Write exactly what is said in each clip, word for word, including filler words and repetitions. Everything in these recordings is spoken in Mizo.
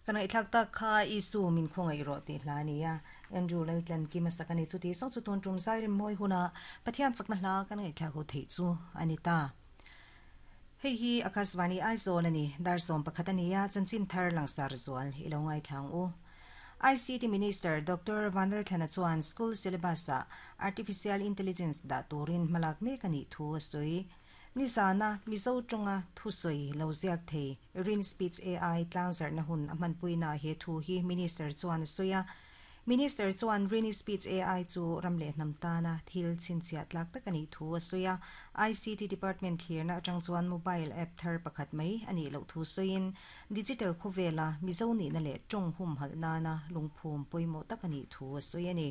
Kan ngaihthlak tak kha Isu min khawngaih rawh tih hla a ni a, Andrew Laltlankima sak a ni. Chuti sawng chu tun tum zai rem mawi huna Pathian fakna hla kan ngaihthlak ho theih chu a ni ta. Hei hi Akashvani Aizawl a ni, dar sawm pakhat a ni a, chanchin thar langsar zual i lo ngaithla ang u. I C T Minister Doctor Vanlalthlana chuan school syllabus-ah Artificial Intelligence dah turin hmalak mek a nih thu a sawi. Nizana Mizo tawnga thusawi lo ziak thei Rin Speech A I tlangzarhna hun a hmanpuina he thu hi Minister chuan a sawi a. Minister chuan Rin Speech A I chu ram leh hnam tana thil chhinchhiah tlak tak a nih thu a sawi a. I C T Department thlirna atang chuan mobile app thar pakhat mai a nih loh thu sawiin digital khawvela Mizo nihna leh tawng hum halh nana lungphum pawimawh tak a nih thu a sawi a ni.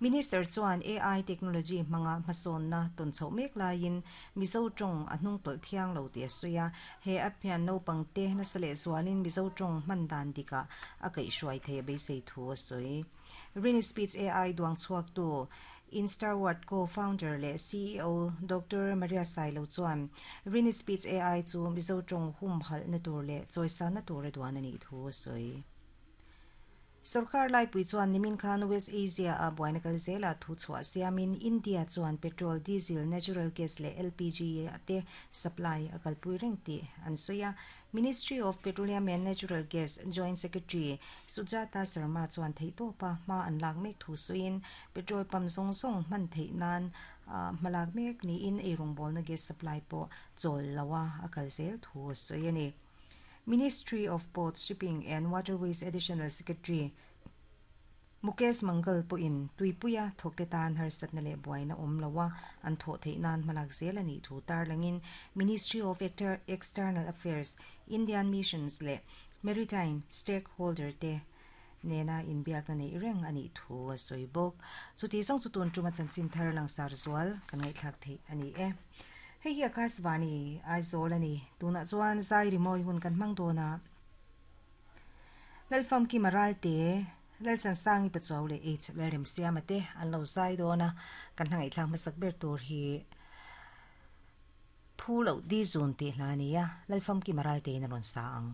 Minister chuan A I technology hmanga hmasawnna tawn chhoh mek laiin Mizo tawng a hnung tawlh thiang lo tih a sawi a. He app hian naupang te nasa leh zualin Mizo tawng hman dan dikah a kaihhruai thei a beisei thu a sawi. Rin Speech A I duang chhuak tu Instaword co-founder leh C E O Doctor Maria Sailo chuan Rin Speech A I chu Mizo tawng hum halh na tur leh chawisa na tur a duan a nih thu a sawi. Sarkar laipui chuan nimin khan West Asia a buaina kal zela thu chhuah siamin India chuan petrol, diesel, natural gas leh L P G te supply a kalpui reng tih an sawi a. Ministry of Petroleum and Natural Gas Joint Secretary Sujata Sharma chuan theih tawpa hma an lak mek thu sawiin petrol pump zawng zawng hman theih nan hmalak mek niin eirawng bawlna gas supply pawh chawl loa a kal zel thu a sawi a ni. Ministry of Ports, Shipping and Waterways Additional Secretary Mukesh Mangal pawhin tuipuia thawkte tan harsatna leh buaina awm loa an thawh theih nan hmalak zel a nih thu tarlangin Ministry of External Affairs, Indian Missions leh Maritime Stakeholder te nena inbiakna nei reng a nih thu a sawi bawk. Chuti zawng chu tun tuma chanchin thar langsar zual kan ngaihthlak theih a ni e. Hei hi Akashvani Aizawl a ni. Tunah chuan zai rimawi hun kan hmang dawn a. Lalfam ki maral te Lalchan sangi pachaw le H lalrem siama te an lo zai dawn a. Kan hmangaih thlak hmasak ber tur hi phu lo di zun tih hla a ni a. Lalfam ki maral te in a rawn sa ang.